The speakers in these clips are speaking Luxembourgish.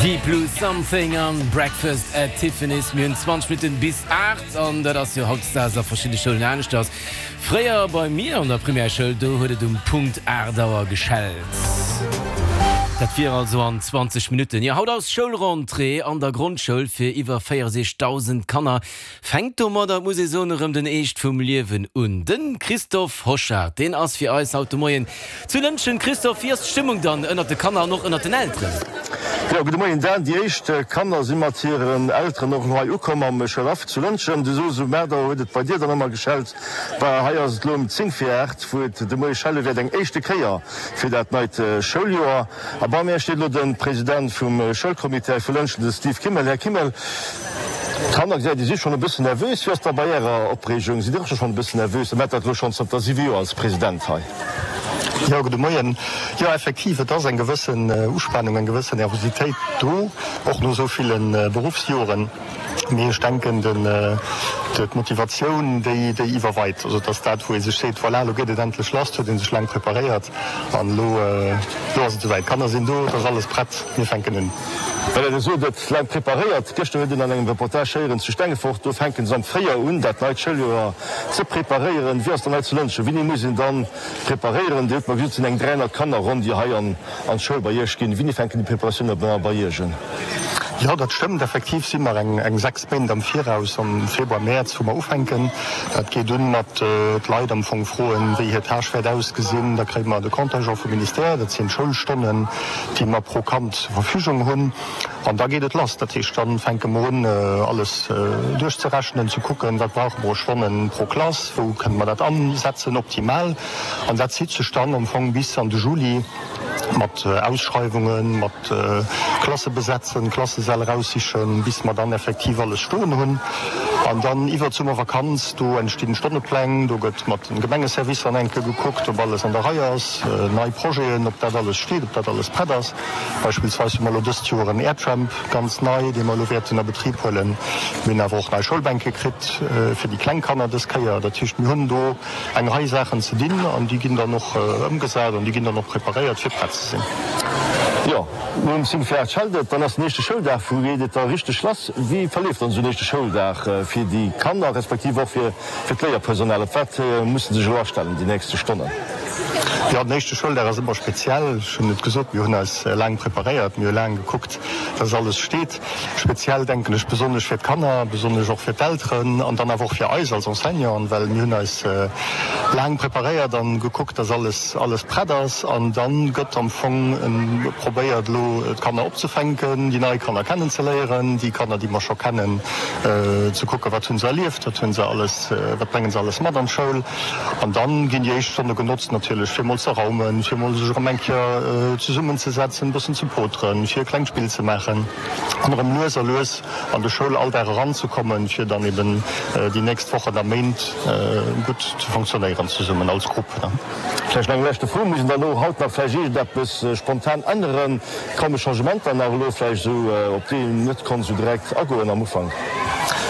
Deep Blue Something an Breakfast at Tiffany's. Mir hunn 20 Minutten bis 8 an dat ass jo hautdesdaags a verschidde Schoulen aneschters. Fréier bei mir an der Primärschoul, do huet et um Punkt 8 Auer geschellt. Dat wier also an 20 Minutten. Jo, haut ass Schoulrentrée an der Grondschoul fir iwwer 64.000 Kanner. Fänkt domadder, muss ee soen, erëm den Eescht vum Liewen un. De Christophe Hochard, deen ass fir eis haut de Moien zu Lëntgen. Christophe, wéi ass d'Stëmmung dann ënnert de Kanner an och ënnert den Elteren? Jo, gudde Moien Dan. Déi éischt Kanner si mat hiren Elteren och elo hei ukomm am Schoulhaff zu Lëntgen. Du sos, um 8 Auer huet et bei dir dann ëmmer geschellt. Bah, hei ass et elo um 10 vir 8, wou et de Moie schelle wäert, eng éischte Kéier fir dat neit Schouljoer. A bei mär steet elo de President vum Schoulcomité vu Lëntgen, de Steve Kimmel. Här Kimmel, d'Kanner, gesäit ee, si schonn e bëssen nervös. Wéi ass da bei Ärer Opreegung? Sidd Dir och schonn e bëssen nervös? Dir maacht dat elo schonn zanter siwe Joer als President hei. Jo, gudde Moien. Jo, effektiv, et ass eng gewëssen Uspanung, eng gewëssen Nervositéit do, och no esou ville Beruffsjoren. Mee ech denken, d'Motivatioun, déi iwwerweit. Also et ass dat, wou ee sech seet, voilà, elo geet et endlech lass, et huet ee sech laang preparéiert an elo ass et esouwäit. D'Kanner sinn do, et ass alles prett, mir fänken un. Well Der sot, et laang preparéiert. Gëschter huet een an engem Reportage héieren zu Stengefort, do fänke se am Fréijoer un, dat neit Schouljoer ze preparéieren. Wéi ass dann hei zu Lëntgen? Wéini muss een dann preparéieren? Dir hutt mer gesot, et sinn eng 300 Kanner ronn, déi hei an d'Schoul bei Iech ginn. Wéini fänken déi Preparatioune bei Iech un? Jo, dat stëmmt. Effektiv si mer eng 6 Méint am Viraus, am Februar, Mäerz, wou mer ufänken. Dat geet un mat d'Leit am Fong froen, wéi hir Tâche wäert ausgesinn. Da kréie mer de Contingent vum Ministère, dat sinn d'Schoulstonnen, déi mer pro Kand zur Verfügung hunn. An da geet et lass. Dat heescht, da fänke mer un, alles duerchzerechnen, ze kucken, wat brauche mer u Stonnen pro Klass, wou kënne mer dat ansetzen optimal. An dat zitt sech dann am Fong bis an de Juli mat Ausschreiwungen, mat Klasse besetzen, Klassesäll eraussichen, bis mer dann effektiv alles stoen hunn. An dann iwwer d'Summervakanz, do entstinn Stonnepläng, do gëtt mat den Gemengeservicer an enke gekuckt, ob alles an der Rei ass, nei Projeten, ob dat alles steet, ob dat alles prett ass. Beispillsweis hu mer elo dëst Joer en Airtramp, ganz nei, dee mer elo wäerten a Betrib huelen. Mir hunn awer och nei Schoulbänke kritt fir déi kleng Kanner dës Kéier. Dat heescht, mir hunn do eng Rei Saachen ze dinn an déi ginn dann och ëmgesat an déi ginn dann och preparéiert, fir prett ze sinn. Jo, nom 10 vir 8 schellt et, dann ass den éischte Schouldag. Wou geet et da richteg lass? Wéi verleeft dann esou en éischte Schouldag fir déi Kanner, respektiv och fir d'Léierpersonal? Op wat musse se sech elo astellen déi nächste Stonnen? Jo, den éischte Schouldag ass ëmmer speziell. Ech hunn et gesot, mir hunn eis laang preparéiert, mir hu laang gekuckt, dass alles steet. Speziell denken ech besonnesch fir d'Kanner, besonnesch och fir d'Elteren an dann awer och fir eis als Enseignanten, well mir hunn eis laang preparéiert an gekuckt, dass alles alles prett ass. An dann gëtt am Fong probéiert elo d'Kanner opzefänken, déi nei Kanner kennenzeléieren, déi Kanner déi mer scho kennen, ze kucken, wat hunn se erlieft, wat hunn se alles, wat bréngen se alles mat an d'Schoul. An dann ginn déi éischt Stonne genotzt natierlech fir mol ze raumen, fir mol sech erëm eng Kéier zesummen ze setzen, e bëssen ze poteren, fir e klengt Spill ze maachen an erëm lues a lues an de Schoulalldag eranzekommen, fir dann eben déi nächst Wochen a Méint gutt ze fonctionnéieren zesummen als Grupp. Vläicht nach eng leschte Fro, Muss een dann elo haut nach vläicht iergendeppes spontan änneren? Komme Changementer nach elo vläicht esou, op déi een net konnt esou direkt agoen am Ufank?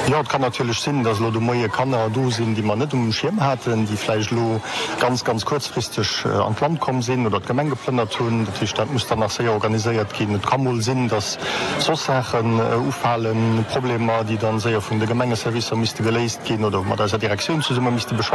Jo, et kann natierlech sinn, dass elo de Moie Kanner do sinn, déi mer net um Schierm haten, déi vläicht elo ganz, ganz kuerzfristeg an d'Land komm sinn oder d'Gemeng geplënnert hunn. Dat heescht, dat muss dann nach séier organiséiert ginn. Et ka mol sinn, dass soss Saachen ufalen, Problemer, déi dann séier vun de Gemengeservicer misste geléist ginn oder mat eiser Direktioun zesumme misste beschwat.